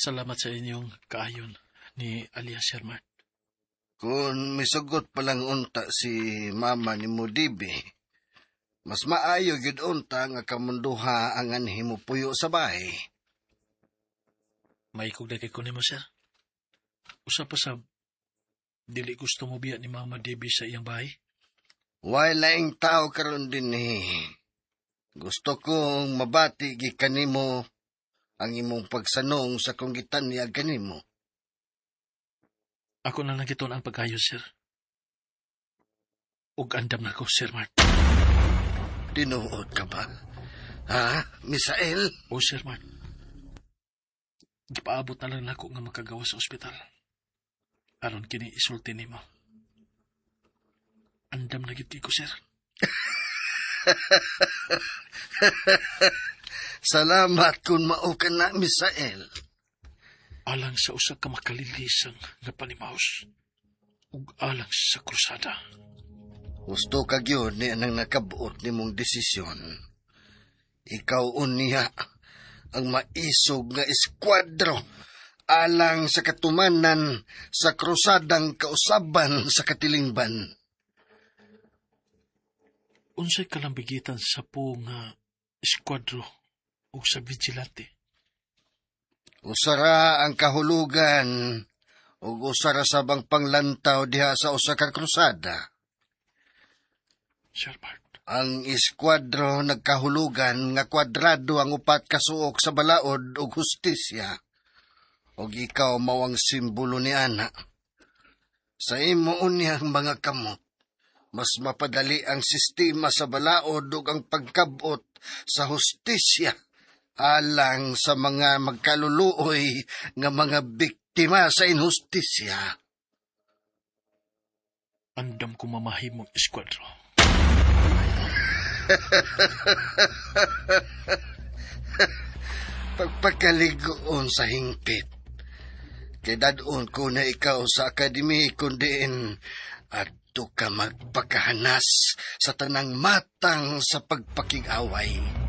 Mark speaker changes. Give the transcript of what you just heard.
Speaker 1: Salamat sa inyong kaayon ni alias Sir Mart.
Speaker 2: Kung misugot pa lang unta si mama ni mo Debbie, mas maayo gyud unta nga kamunduha ang anhi mo puyo sa bahay.
Speaker 1: Maikog na kay ko nimo, sir. Usa pa sa dili gusto mo biya ni Mama Debbie sa iyang bahay.
Speaker 2: Way laing tao karon dinhi. Gusto kong mabati gikan nimo ang imong pagsanong sa kong gitanyag kanimo.
Speaker 1: Ako na lang gitun ang pag-ayo, sir. Ug andam na ko, Sir Mart.
Speaker 2: Tinuod ka ba? Ha, Misael?
Speaker 1: O, Sir Mart. Gipaabot na lang nako nga makagawa sa ospital. Aron kini isulti nimo. Andam na gid ko, sir.
Speaker 2: Salamat kung mao ka na, Misael.
Speaker 1: Alang sa usa ka makalilisang nga panimaos ug alang sa krusada.
Speaker 2: Gusto ka gyud ni anang nakabuot nimong desisyon. Ikaw unya ang maisog nga eskuadro alang sa katumanan sa krusadang kausaban sa katilingban.
Speaker 1: Unsay kalambigitan sa po nga eskuadro ug sa vigilante?
Speaker 2: Usara ang kahulugan ug usara sa bang panglantaw diha sa usa ka krusada.
Speaker 1: Sir Bart.
Speaker 2: Ang eskuadro nagkahulugan nga kwadrado ang upat kasuok sa balaod ug hustisya. Ug ikaw mao ang simbolo ni ana. Sa imo unyang mga kamot, mas mapadali ang sistema sa balaod ug ang pagkabot sa hustisya alang sa mga magkaluluoy nga mga biktima sa inhustisya.
Speaker 1: Andam ko mamahimong eskuadro.
Speaker 2: Pagpakaligoon sa hingpit. Kay dadon ko na ikaw sa akademi kundiin adto ka magpakahanas sa tanang matang sa pagpakig-away.